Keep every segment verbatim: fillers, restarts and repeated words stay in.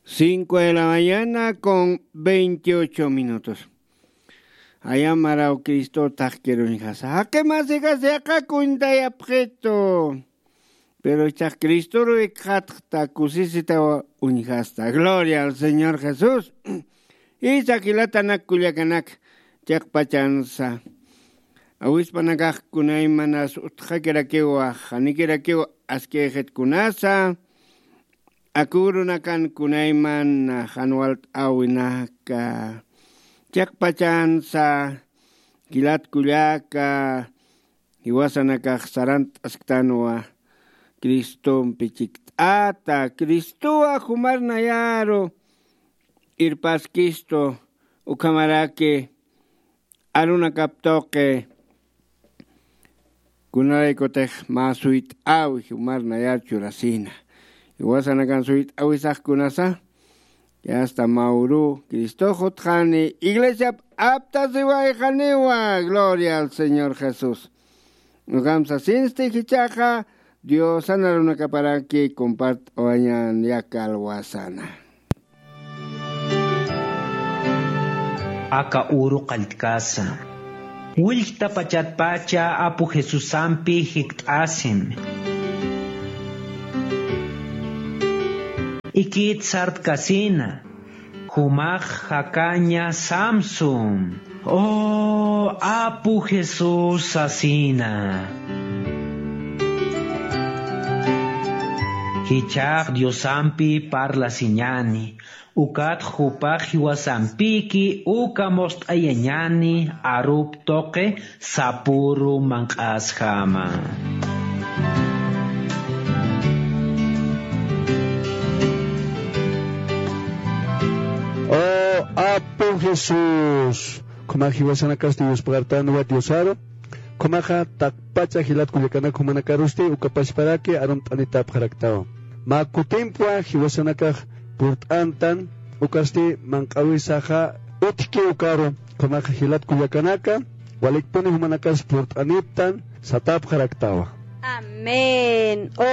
Cinco de la mañana con veintiocho minutos. Ayamaraw Cristo taqkir uñjasa. Jaqi masikas, yaqha cuentayapxitu. Pero ichax Cristoru ikxatxta, kusisitaw uñjasta. Gloria al Señor Jesús. Isa jilatanak kullakanak, chiqpachansa awispanakax kunaymanas utxakirakiwa, janikirakiw askixit kunasa, akurunakan kunayman jan walt'äwinaka, chiqpachansa, jilat kullaka, jiwasanakax sarant'asktanwa Cristompi chikt'ata. Cristowa jumar nayaru irpaskistu, ukhamaraki arunakap tuqi kunalaykutix mä suyt'äwi jumar nayar churasina. Jiwasanakan suyt'äwisax kunasa, yasta mä uru Cristox utjani, iglesiap aptasiwayxaniwa. Gloria al Señor Jesús. Ukham sasinsti jichhaxa, Diosan arunakaparaki compart'awañän yaka alwasana. Aka uru qalltkasa. Willkta pachatpacha Apu Jesusampi jikt'asin. Ikit sartkasina. Jumax jakaña Samson. O Apu Jesús sasina. Jichhax Diosampi parlasiñäni, ukat jupax jiwasampiki uka must'ayañäni arup tuqi sapüru manq'asjama. O Apu Jesús, khumax jiwasanakasti yuspagartanwa Diosaru, khumaxa taqpacha jilat kullakanak jumanakarusti uka pachparaki arumt'anitapxaraktawa. Mä kutimpwa jiwasanakax purt'antan, ukasti manq'äwisaxa utjki ukaru, khumaxa jilat kullakanaka, walikpuni jumanakas purt'aniptan satapxaraktawa. Amén. O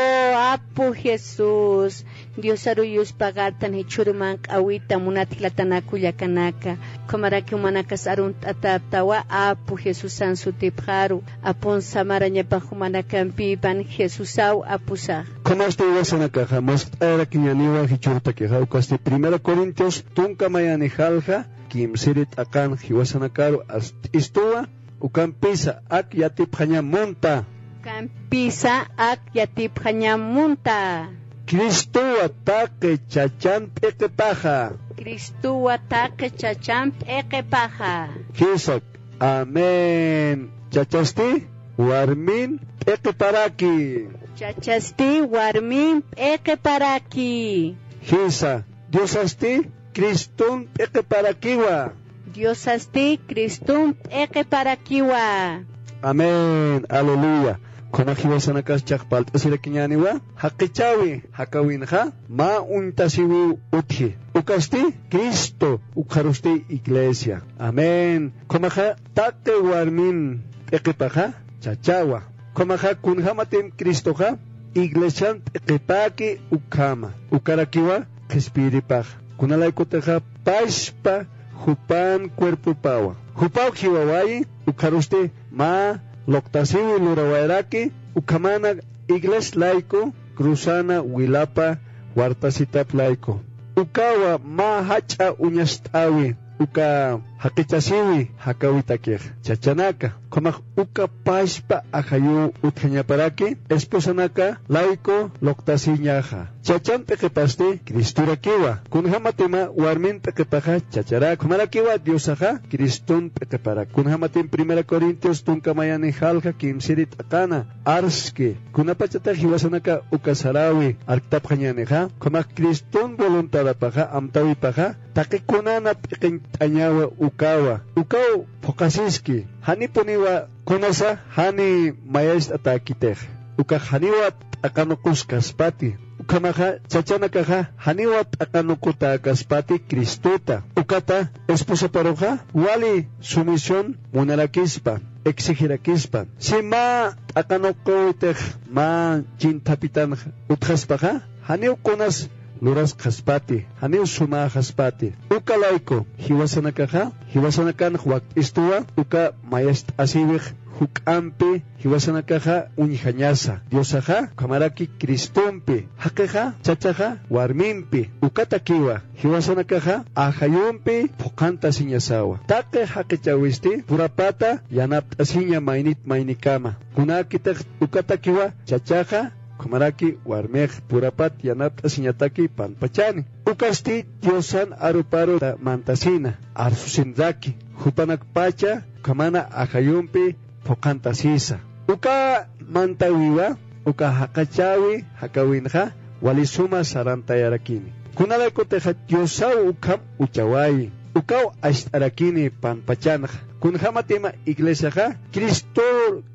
Apu Jesús, Diosaru yuspagartan jichhüru manq'äwita munat jilatanaka kullakanaka. Ukhamaraki jumanakas arunt'atäptawa Apu Jesusan sutipxaru. Apun samarañapax jumanakampipan Jesusaw apusax. Khumasti jiwasanakaxa muskt'ayarakiñäniwa jichhürtakixa, ukasti Primera Corintios tunka mayani jalja kimsiri t'aqan jiwasanakaru arst'istuwa, ukampisa ak yatipxañam munta. Ukampisa ak yatipxañam munta. Cristowa taqi chachan p'iqipaxa. Cristowa taqi chachan p'iqipaxa. Jisa, amén. Chachasti warmin p'iqiparaki. Chachasti warmin p'iqiparaki. Jisa, Diosasti Criston p'iqiparakiwa. Diosasti Criston p'iqiparakiwa. Amén. Aleluya. Khuna jiwasanakas chaq palt'asirakiñäniwa. Jaqichäwi, jakäwinxa, mä uñtasiwiw utji. Ukasti Cristo, ukxarusti iglesia. Amén. Khumaxa taqi warmin p'iqipaxa chachawa. Khumaxa kunjämatim Cristoxa iglesian p'iqipäki ukhama, ukarakiwa qhispiyiripaxa. Kunalaykutixa pachpa jupan cuerpopawa. Jupaw jiwawayi, ukxarusti mä luqtasiwi lurawayaraki, ukhamana igles layku cruzana wilapa wartasitap layku. Ukawa mä jach'a uñast'äwi, uka jaqichasiwi jakäwitakix. Chachanaka, khamax uka pachpa ajayuw utjañaparaki, esposanaka layku luqtasiñaxa. Chachan p'iqipasti Cristorakiwa. Kunjämatima warmin p'iqipaxa chacharak. Khumarakiwa Diosaxa Criston p'iqiparak. Kunjämatim Primera Corintios tunka mayani jalja kimsiri t'aqana arski. Kunapachatix jiwasanaka uka saräwi arktapxañänixa, khamax Criston voluntadapaxa, amtäwipaxa, taqi kunana p'iqiñt'añawa ukawa. Ukaw phuqhasiski. Janipuniwa kunasa jani mayacht'atäkitix. Ukax janiwa t'aqanuqus kaspati. Ukhamaxa chachanakaxa janiwa t'aqanuqutäkaspati Cristota. Ukata esposaparuxa wali sumisión munarakispa, exigirakispa. Si mä t'aqanuqüwitix mä chinthapitanx utjaspaxa, janiw kunas lurasxaspati, janiw sumäxaspati. Uka layku, jiwasanakaxa, jiwasanakanx wakt'istuwa, uka mayacht'asiwix juk'ampi, jiwasanakaxa uñjañasa. Diosaxa, ukhamaraki Cristompi, jaqixa, chachaxa, warmimpi, ukatakiwa, jiwasanakaxa, ajayumpi, phuqhantasiñasawa. Taqi jaqichawisti, purapata, yanapt'asiña maynit maynikama. Kunäkitix, ukatakiwa, chachaxa, ukhamaraki warmix purapat yanapt'asiñataki panpachani. Ukasti Diosan aruparu ta-, mantasina, arsusinraki, jupanakpacha ukhamana ajayumpi phuqhantasisa. Uka mantäwiwa, uka jaqachäwi jakäwinxa, wali suma sarantayarakini. Kunalaykutixa Diosaw ukham uchawayi, ukaw acht'arakini panpachanxa. Kunjämatima iglesiaxa, Cristo,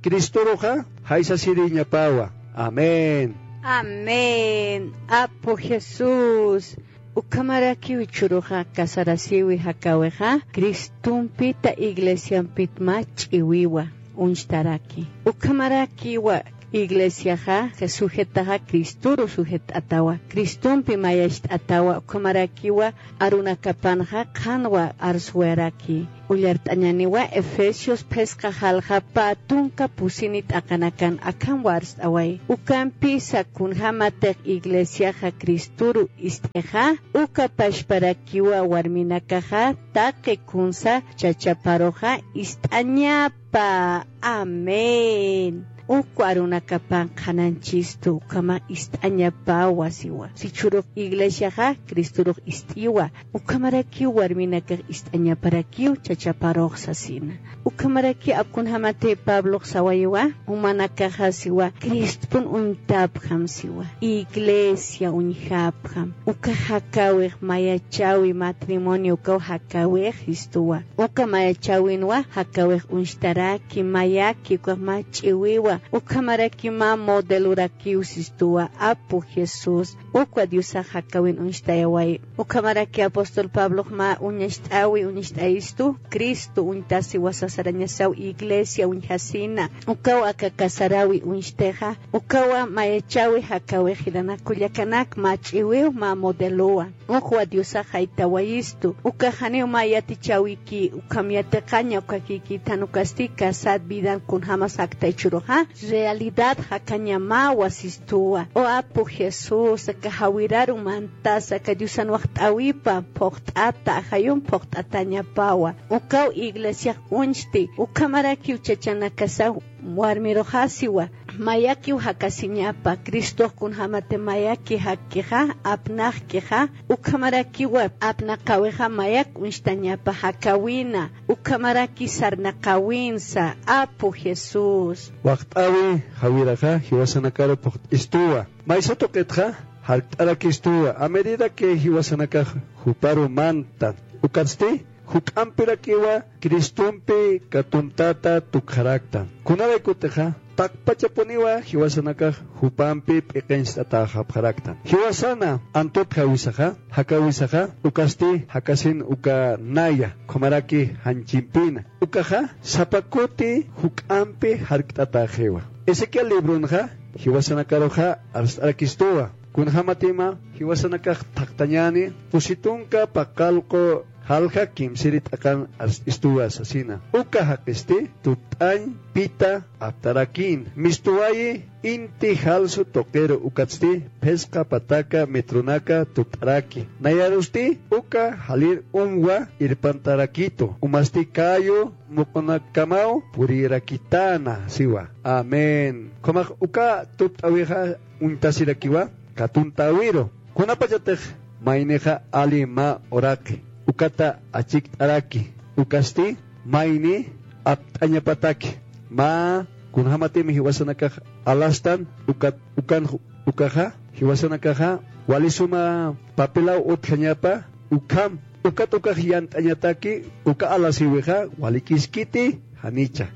Cristoruxa, jaysasiriñapawa. Amén. Amén. Apu Jesús, ukhamarakiw jichhüruxa casarasiwi jakäwixa, Cristumpita iglesiampit mä ch'iwiwa uñstaraki. Ukhamarakiwa iglesiaxa, sujetaxa Cristoru sujett'atawa, Cristumpi mayacht'atawa, ukhamarakiwa arunakapanxa qhanwa arswayaraki. Ullart'añäniwa Efesios phisqa jalja pä tunka pusini t'aqanakan akham warst'away. Ukampisa kunjämatix iglesiaxa Cristoru ist'ixa, uka pachparakiwa warminakaxa taqi kunsa chachaparuxa ist'añapa. Amén. Uk arunakapan qhanañchistu, ukhamax ist'añapawa siwa. Jichhürux iglesiaxa Cristorux ist'iwa, ukhamarakiw warminakax ist'añaparakiw chachaparux sasina. Ukhamaraki ap kunjämati Pablox sawayiwa, jumanakaxa siwa, Cristopun uñtapxam siwa, iglesia uñjapxam. Uka jakäwix mayachäwi, matrimonio ukaw jakäwix jistuwa. Uka mayachäwinwa jakäwix uñstaraki, mayaki, ukax mä ch'iwiwa, ukhamaraki mä modelorakiw sistuwa, Apu Jesús. Ukwa Diosax jakäwin uñstayawayi. Ukhamaraki apóstol Pablox mä uñacht'äwi uñacht'ayistu, Cristo uñtasiwa sasarañasaw iglesia uñjasina. Ukaw aka casaräwi uñstixa, ukawa mayachäwi jakäwix jilanak kullakanak, mä ch'iwiw, mä modelowa. Ukwa Diosax jaytawayistu, uka janiw mä yatichäwiki, ukham yatiqaña ukakïkïtan, ukasti casad vidan kunjämas jakta jichhüruxa, realidad jakañamawa sistuwa. O Apu Jesús, aka jawiraru mantasa, aka Diosan wakt'äwipa phuqt'ata, ajayum phuqt'atañapawa. Ukaw iglesiax uñsti, ukhamarakiw chachanakasaw warmiruxasiwa, mayakiw jakasiñapa, Cristox kunjämati mayaki jakkixa, apnaqkixa, ukhamarakiwa apnaqäwixa mayak uñstañapa jakäwina, ukhamaraki sarnaqäwinsa, Apu Jesús. Wakt'äwi jawiraxa jiwasanakaru phuqt'istuwa. Maysa tuqitxa jarkt'arakistuwa, a medida que jiwasanakax juparu mantan. Ukatsti, juk'ampirakiwa Cristompi katumtata tukxaraktan. Kunalaykutixa, taqpachapuniwa jiwasanakax jupampi p'iqincht'atäxapxaraktan. Jiwasana antutjawisaxa, jakäwisaxa, ukasti jakasin uka naya, ukhamaraki janchimpina. Ukaxa, sapa kuti juk'ampi jarkt'atäxiwa. Ezequiel libronxa, jiwasanakaruxa arst'arakistuwa. Kunjämatima jiwasanakax thaqtañäni, pusi tunka paqallqu jalja kimsiri t'aqan arst'istuwa sasina. Uka jaqisti tupt'añ pita aptarakïn. Mistuwayi inti jalsu tuqiru ukatsti phisqa pataka metronaka tupt'araki. Nayarusti uka jalir umwa irpantarakitu. Umasti callo muqunakamaw purirakitäna siwa. Amén. Ukhamax uka tupt'äwixa uñtasirakiwa, katuntäwiru. Kunapachatix maynixa ali mä uraqi, ukata achikt'araki, ukasti mayni apt'añapataki, mä kunjämatim jiwasanakax alastan, ukat, ukan, ukaxa, jiwasanakaxa, wali suma papelaw utjañapa, ukham, ukat ukax yant'añataki, uka alasiwixa, walikiskiti, janicha.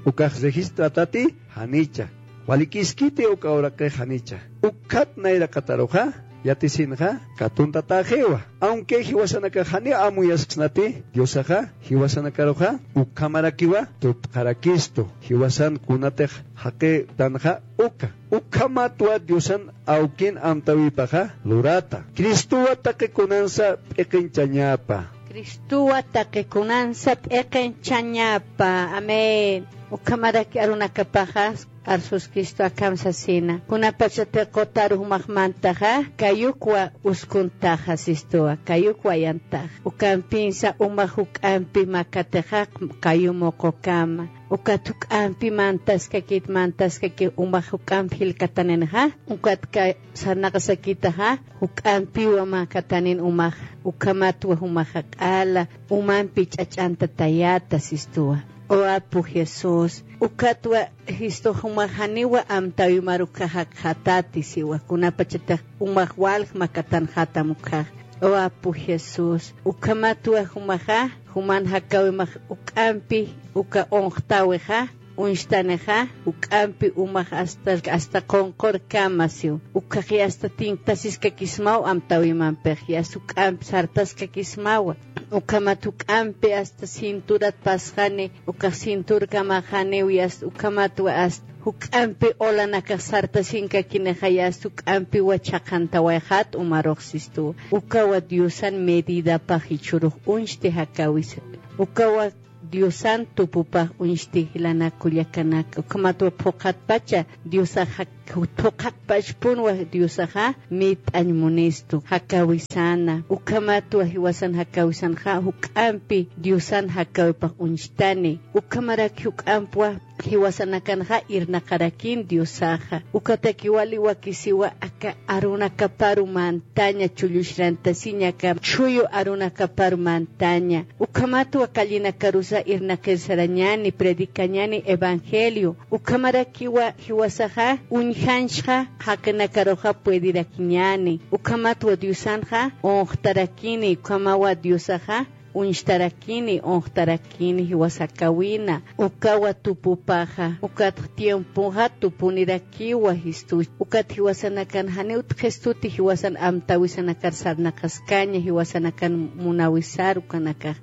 Ukax registratati, janicha. Walikiskiti uka uraqix janicha. Ukat nayraqataruxa, yatisinxa katuntataxiwa. Aunque jiwasanakax janiw amuyasksnati diosaxa, jiwasanakaruxa ukhamarakiwa tutqarakistu jiwasan kunatix jaqitanxa uka. Ukhamatwa diosan awkin amtawipaxa lurata. Cristowa taqi kunansa p'iqinchañapa. Cristowa taqi kunansa p'iqinchañapa. Amén. Ukhamaraki arunakapaxa arsus Cristo akham sasina, kunapachatix qutaru jumax mantaxa kayukwa uskuntaxa sistuwa, kayukwa yantaxa. Ukampinsa umax juk'ampi makatixa kayu muqukama. Ukat juk'ampi mantaskakit mantaskaki umax juk'amp jilkataninxa, ukat ka sarnaqasakitaxa juk'ampiwa makatanin umax. Ukhamatwa jumaxa q'ala umampi ch'ach'antatayata sistuwa. O apu Jesús, ukatwa Cristo jumax janiwa amtawimar ukkhax jakxatati siwa, kunapachatix umax walj makatanxatam ukkhax. O apu Jesús, ukhamatwa jumaxa juman jakawimax juk'ampi uka unxtawixa uñstanixa, juk'ampi umax asta asta qunqurkama siw. Ukkhaxi asta tinktasiskakismaw amtawimampix, yasta juk'amp sartaskakismawa. Ukhamat juk'ampi asta cinturat pasxani, ukax cinturkamaxaniw, yasta ukhamatwa asta juk'ampi ulanakax sartasinkakinixa, yasta juk'ampiwa chhaqantawayxat umarux sistuwa. Ukawa diosan medidapax jichhürux uñsti jakawisa. Ukawa diosan tupupax uñsti jilanak kullakanaka. Ukhamatwa phuqhatpacha diosax jak- phuqhatpachpunwa diosaxa mit'añ munistu jakawisana. Ukhamatwa jiwasan jakawisanxa juk'ampi diosan jakawipax uñstani. Ukhamarak juk'ampwa jiwasanakanxa irnaqarakin diosaxa. Ukataki wali wakisiwa aka arunakaparu mantaña, chulluxrantasiña aka chhuyu arunakaparu mantaña. Ukhamatwa callenakarusa irnaqir sarañani, predicañani evangelio. Ukhamarakiwa jiwasaxa uñjanchxa jaqinakaruxa puedirakiñani. Ukhamatwa diosanxa unxtarakini, ukhamawa diosaxa uñstarakini, unxtarakini jiwasa jakawina. Ukawa tupupaxa, ukat tiempoxa tupunirakiwa jistu. Ukat jiwasanakan janiw utjkhistuti jiwasan amtawisanakar sarnaqaskaña, jiwasanakan munawisar ukanakax.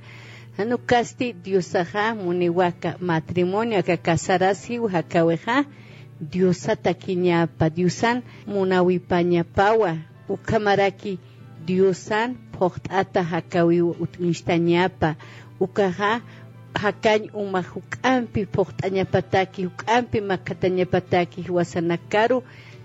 Jan ukasti diosaxa muniwaka matrimonio aka casarasiw jakawixa diosatakiñapa, diosan munawipañapawa. Ukhamaraki diosan phuqt'ata jakawiw uñstañapa. Ukaxa jakañ umax juk'ampi phuqt'añapataki, juk'ampi makatañapataki jiwasanakaru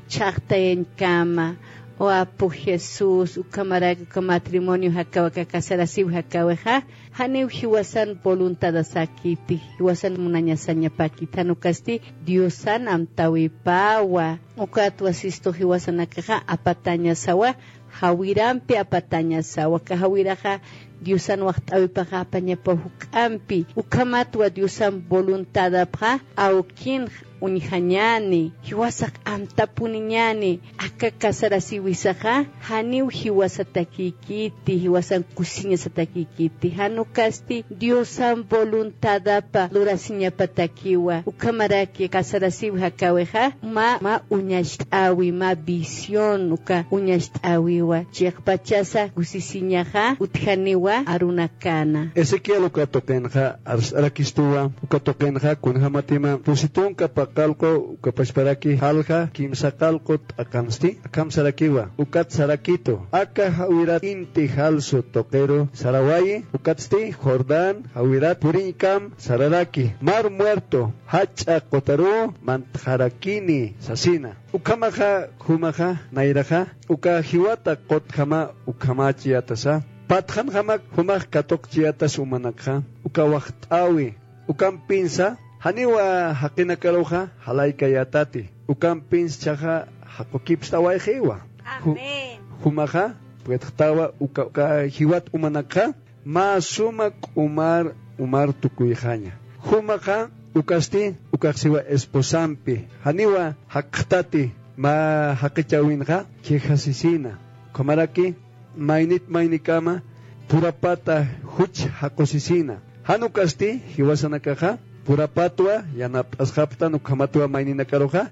chhaqtayañkama. O apu Jesús, ukhamaraki uka matrimonio jakaw aka casarasiw jakawixa janiw jiwasan voluntadasakiti, jiwasan munañasañapakiti, jan ukasti diosan amtawipawa. Ukatwa sistu jiwasanakaxa apatañasawa, jawirampi apatañasawa. Aka jawiraxa diosan waxt'awipaxa apañapaw juk'ampi. Ukhamatwa diosan voluntadapxa awkinx uñjañani, jiwasax amtapuniñani. Aka casarasiwisaxa janiw jiwasatakïkiti, jiwasan kusiñasatakïkiti, jan ukasti diosan voluntadapa lurasiñapatakiwa. Ukhamaraki casarasiw jakawixa mä mä uñacht'äwi, mä visión uka uñacht'äwiwa, chiqpachasa kusisiñaxa utjaniwa arunakana. Ezequiel uka tuqinxa arst'arakistuwa, uka tuqinxa kunjämatima pusi tunka paqallqu uka pachparaki jalja kimsa qallqu t'aqansti akham sarakiwa. Ukat sarakitu: Aka jawirat inti jalsu tuqiru sarawayi, ukatsti Jordán jawirat puriñkam sararaki, Mar Muerto jach'a qutaruw mantxarakini sasina. Ukhamaxa jumaxa nayraxa uka jiwata qutjama ukhamächiyätasa, patxanxamak jumax katuqchiyätas umanakxa uka waxt'äwi. Ukampinsa janiwa jaqinakaruxa jalaykayätati, ukampinsa jichhaxa jaqukipst'awayxiwa. Ju- Amén. Jumaxa puedxtawa uka uka jiwat umanakxa mä suma k'umar umar tukuyxaña. Jumaxa ukasti ukax siwa esposampi janiwa jakxtati mä jaqichäwinxa, quejasisina. Ukhamaraki maynit maynikama purapata juch jaqusisina. Jan ukasti jiwasanakaxa purapatwa yanapt'asxapxtan, ukhamatwa mayninakaruxa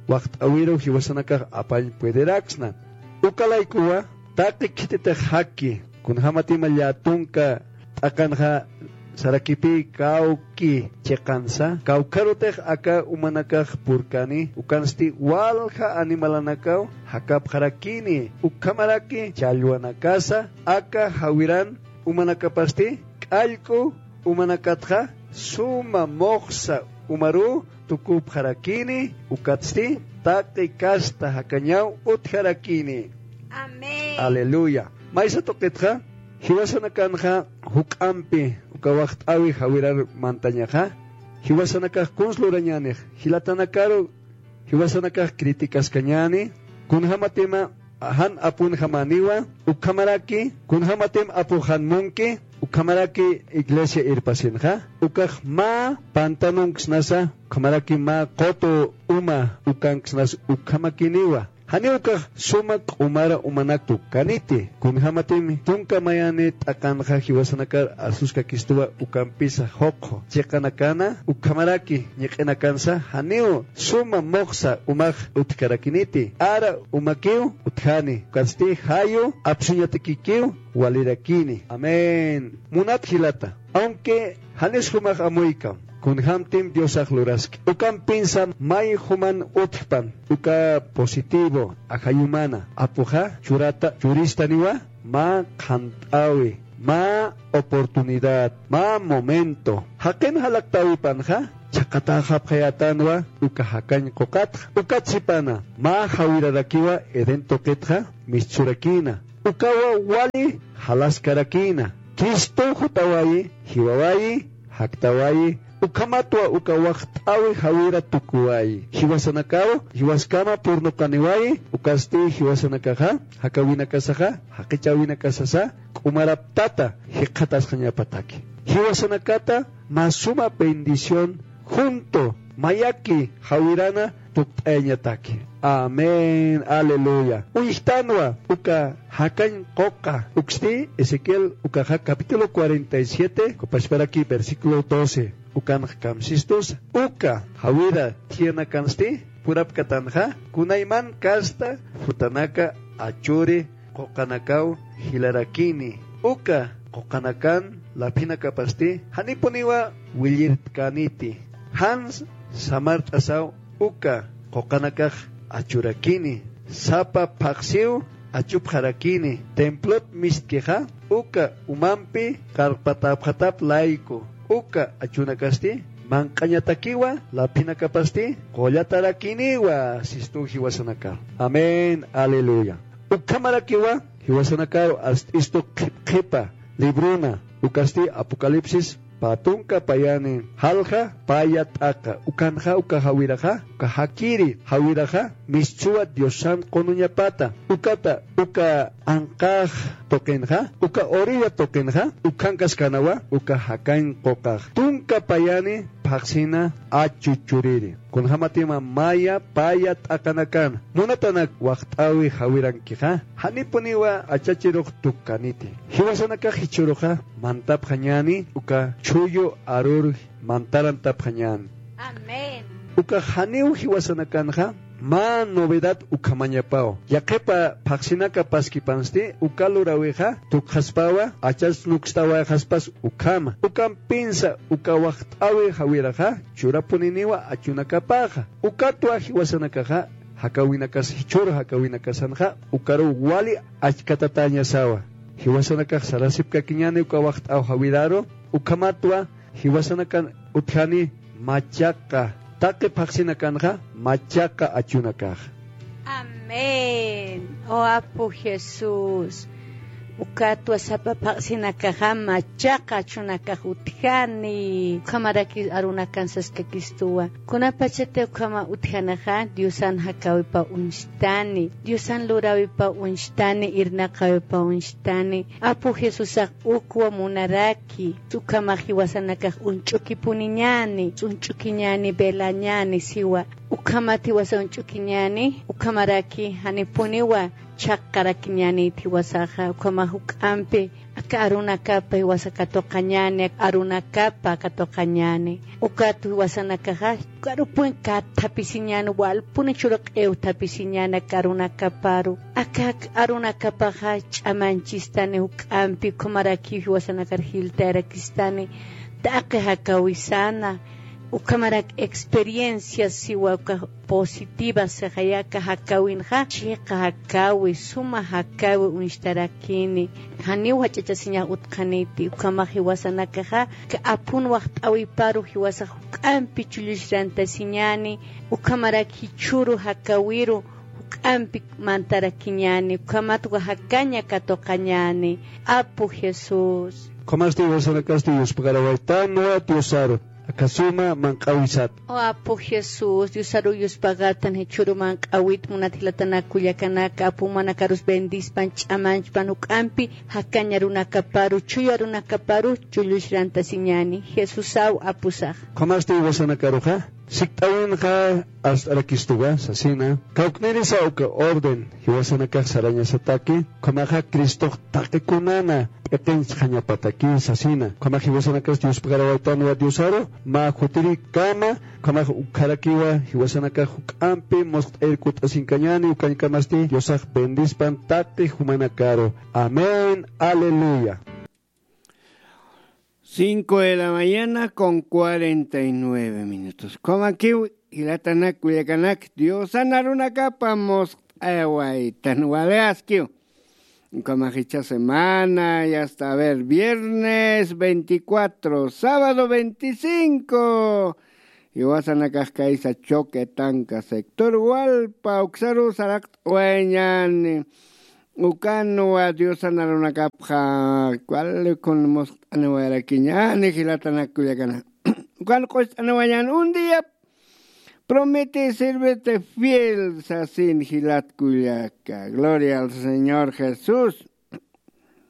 waxt'äwiru jiwasanakax apañ puederaksna. Ukalaykuwa taqi khititix jaki, kunjämatim llätunka t'aqanxa sarakipï kawki chiqansa, kawkharutix aka umanakax purkani, ukansti walja animalanakaw jakapxarakini, ukhamaraki challwanakasa aka jawiran umanakapasti k'allk'u umanakatxa suma muxsa umaruw tukupxarakini, ukatsti taqi kasta jakañaw utjarakini. Amén. Aleluya. Maysa tuqitxa, jiwasanakanxa juk'ampi uka waxt'äwi jawirar mantañaxa, jiwasanakax kuns lurañänix, jilatanakaru jiwasanakax criticaskañäni, kunjämatima jan apunjamäniwa, ukhamaraki kunjämatim apux jan munki, ukhamaraki iglesia irpasinxa, ukax mä pantanunksnasa, ukhamaraki mä qutu uma ukanksnas ukhamakiniwa. Janiw ukax suma q'umara umanak tukkaniti, kunjämatim tunka mayani t'aqanxa jiwasanakar arsuskakistuwa ukampisa juqju chiqanakana, ukhamaraki ñiq'inakansa janiw suma muxsa umax utjkarakiniti, ara umakiw utjani, ukatsti jayu apsuñatakikiw walirakini. Amén. Munat jilata, aunque janis jumax amuykam, kunjämtim Diosax luraski. Ukampinsa may juman utjpan, uka positivo, ajayumana, apuxa churata, churistaniwa, mä qhant'äwi, mä oportunidad, mä momento. Jaqin jalaqtäwipanxa, chhaqatäxapxayätanwa, uka jakañ quqatxa. Ukat sipana, mä jawirarakiwa Edén tuqitxa, mistsurakïna. Ukawa wali jalaskarakïna. Cristow jutawayi, jiwawayi, jaktawayi, ukhamatwa uka waxt'äwi jawira tukuwayi. Jiwasanakaw, jiwaskama purnuqaniwayi, ukasti jiwasanakaxa, jakäwinakasaxa, jaqichäwinakasasa, k'umaraptata, jikxatasxañapataki. Jiwasanakata, mä suma bendición, junto, mayaki, jawirana, tukt'ayañataki. Amén. Aleluya. Uñjtanwa, uka jakañ quqa, uksti Ezequiel, ukaxa capítulo cuarenta y siete, ukapachparaki versículo doce. Ukanx kamsistusa. Uka, jawira, thiyanakansti, purapkatanxa, kunayman kasta, jutanaka, achuri, quqanakaw jilarakini. Uka quqanakan laphinakapasti janipuniwa willirtkaniti. Jan samart'asaw uka quqanakax achurakini. Sapa phaxsiw achupxarakini. Templot mistkixa uka umampi qarpatäpxatap layku. Uka achunakasti manq'añatakiwa laphinakapasti qullatarakiniwa sistu jiwasanaka. Amén. Aleluya. Ukhamarakiwa, jiwasanakaru ast'istu qhipqhipa libruna, ukasti Apocalipsis pä tunka payani, jalja paya t'aqa, ukanxa uka jawiraxa, uka jakiri jawiraxa, mistsuwa Diosan qunuñapata, ukata, uka anqax tuqinxa, uka orilla tuqinxa, ukhankaskanawa, uka jakañ quqax. Tunka payani, phaxsina achu churiri. Kunjämatima maya paya t'aqanakan. Munatanak waxt'äwi jawirankixa. Janipuniwa achachirux tukkaniti. Jiwasanakax jichhüruxa mantapxañäni uka chhuyu arur mantarantapxañäni. Amén. Ukax janiw jiwasanakanxa mä novedad ukhamañapaw. Yaqhipa phaxsinaka paskipansti uka luräwixa tukxaspawa, achas nukstawayxaspas ukhama. Ukampinsa uka waxt'äwi jawiraxa churapuniniwa achunakapaxa. Ukatwa jiwasanakaxa jakäwinakas jichhür jakäwinakasanxa ukaruw wali achkatatäñasawa. Jiwasanakax sarasipkakiñäni uka waxt'äw jawiraru, ukhamatwa jiwasanakan utjani machaqa, taqi phaxsinakanxa machaqa achunakax. Amén. O Apu Jesús. Ukatwa sapa phaxsinakaxa machaqa achunakax utjani. Ukhamaraki arunakan saskakistuwa. Kunapachati ukhama utjanixa Diosan jakäwipaw uñstani. Diosan luräwipaw uñstani, irnaqäwipaw uñstani. Apu Jesusax ukwa munaraki. Ukhamax jiwasanakax uñch'ukipuniñäni, uñch'ukiñäni, velañäni siwa. Ukhamat jiwasa uñch'ukiñäni, ukhamaraki janipuniwa chhaqarakiñäniti jiwasaxa, ukhamax juk'ampi aka arunakapa jiwasa katuqañäni, aka arunakapa katuqañäni. Ukat jiwasanakaxa karupun kathapisiñäni, walpuni churq'iw thapisiñäni aka arunakaparu. Aka arunakapaxa ch'amañchistani juk'ampi, ukhamarakiw jiwasanakar jiltayarakistani taqi jakawisana. Ukhamarak experiencias siwa uka positivas sixaya aka jakawinxa, chiqa jakawi, suma jakawi uñstarakini. Janiw jach'achasiñax utqaniti, ukhamax jiwasanakaxa aka aphun waxt'äwiparu jiwasax juk'ampi chulluchrantasiñäni, ukhamarak jichhüru jakawiru juk'ampi mantarakiñäni, ukhamat uka jakaña katuqañäni. Apu Jesús. Ukhamasti jiwasanakasti yuspagarawaytanwa Diosaru aka suma manq'äwisat. O Apu Jesús, Diosaru yuspagatan jichhüru manq'äwit munat jilatanak kullakanak, apu jumanakarus bendispan, ch'amanchpan, juk'ampi jakañ arunakaparu, chuy arunakaparu chulluchrantasiñäni. Jesusaw apusax. Ukhamasti jiwasanakaruxa sikt'äwinxa arst'arakistuwa sasina, kawknirisa uka orden jiwasanakax sarañasataki, ukhamaxa Cristox taqi kunana p'iqinchxañapataki sasina. Ukhamax jiwasanakasti yuspagarawaytanwa Diosaru mä jutirikama, ukhamax ukharakiwa jiwasanakax juk'ampi musqt'ayir kutt'asinkañäni, ukañkamasti Diosax bendispan taqi jumanakaru. Amén. Aleluya. Cinco de la mañana con cuarenta y nueve minutos. Ukhamakiw, jilatanak, kullakanak, Diosan arunakapa musqt'ayawaytan wali askiw. Ukhamax jichha semana, ya está, a ver, viernes veinticuatro, sábado veinticinco. Jiwasanakax kaysa Choque Tanca sector Hualpa uksaru saraqt'awayañäni. Ukanwa Diosan arunakapxa wali kun musqt'aniwayarakiñäni, jilatanak, kullakanak. Ukan q'ust'aniwayañäni, un día prometí servirte fiel sasin, jilat kullaka. Gloria al Señor Jesús.